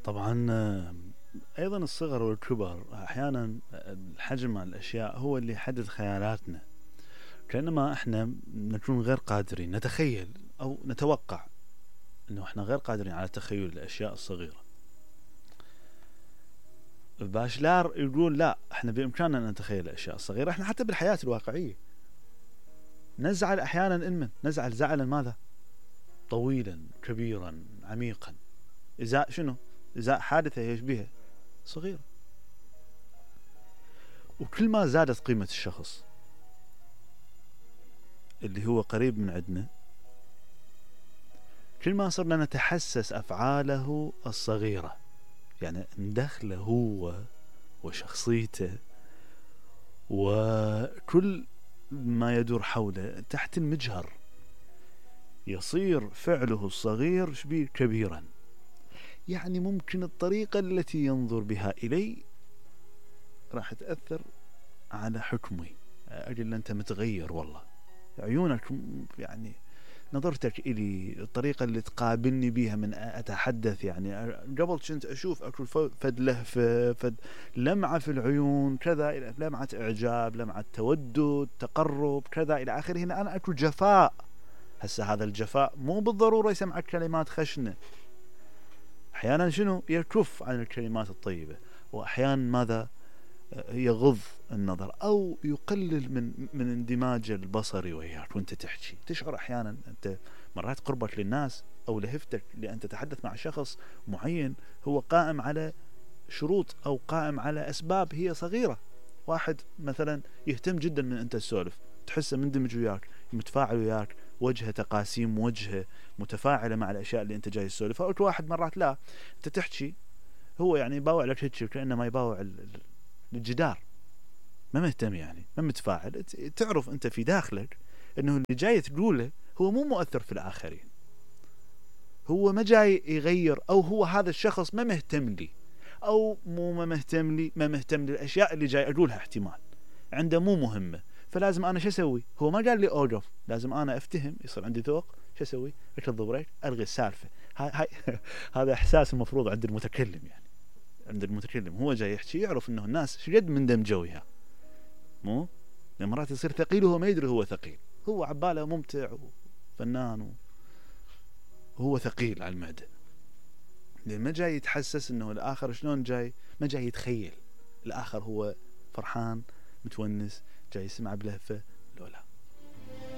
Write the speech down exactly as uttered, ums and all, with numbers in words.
طبعا ايضا الصغر والكبر احيانا الحجم مع الاشياء هو اللي يحدد خيالاتنا، كأنما احنا نكون غير قادرين نتخيل او نتوقع انه احنا غير قادرين على تخيل الاشياء الصغيرة. باشلار يقول لا، احنا بامكاننا ان نتخيل الاشياء الصغيرة. احنا حتى بالحياة الواقعية نزعل احيانا، انمن نزعل زعلا ماذا؟ طويلا كبيرا عميقا، ازاء شنو؟ ازاء حادثة يشبهها صغيرة. وكل ما زادت قيمة الشخص اللي هو قريب من عندنا، كل ما صرنا نتحسس أفعاله الصغيرة، يعني ندخله هو وشخصيته وكل ما يدور حوله تحت المجهر، يصير فعله الصغير شبيه كبيرا. يعني ممكن الطريقة التي ينظر بها إلي راح تأثر على حكمي. أجل أنت متغير والله، عيونك يعني نظرتك إلي، الطريقة اللي تقابلني بيها من أتحدث، يعني قبل كنت أشوف أكل فد لهفة، فد لمعة في العيون كذا، لمعة إعجاب، لمعة تودد، تقرب كذا إلى آخره. هنا أنا أكل جفاء. هسه هذا الجفاء مو بالضرورة يسمعك كلمات خشنة، أحيانا شنو يكف عن الكلمات الطيبة، وأحيانا ماذا؟ يغض النظر أو يقلل من من اندماج البصري وياك وانت تحكي. تشعر أحيانا أنت مرات قربك للناس أو لهفتك لأن تتحدث مع شخص معين هو قائم على شروط أو قائم على أسباب هي صغيرة. واحد مثلا يهتم جدا من أنت تسولف، تحسه مندمج وياك، متفاعل وياك، وجهه تقاسيم وجهه متفاعلة مع الأشياء اللي أنت جاي تسولفها. أو واحد مرات لا، أنت تحكي هو يعني يباوع لك هيك كأنه ما يباوع الجدار، ما مهتم، يعني ما متفاعل. تعرف أنت في داخلك أنه اللي جاي تقوله هو مو مؤثر في الآخرين، هو ما جاي يغير، أو هو هذا الشخص ما مهتم لي، أو مو ما مهتم لي، ما مهتم للأشياء اللي جاي أقولها، احتمال عنده مو مهمة. فلازم أنا شو أسوي؟ هو ما قال لي أوقف، لازم أنا أفتهم، يصير عندي ذوق. شو أسوي؟ أكل بريك، ألغي السالفة. هاي هاي هذا إحساس المفروض عند المتكلم، يعني عند المتكلم هو جاي يحكي يعرف إنه الناس شقد من دم جويها، مو مرات يصير ثقيل وهو ما يدري هو ثقيل، هو عباله ممتع وفنان وهو ثقيل على المعدة، لأن ما جاي يتحسس إنه الآخر شلون جاي، ما جاي يتخيل الآخر هو فرحان متونس جاي يسمع بلهفة لولا.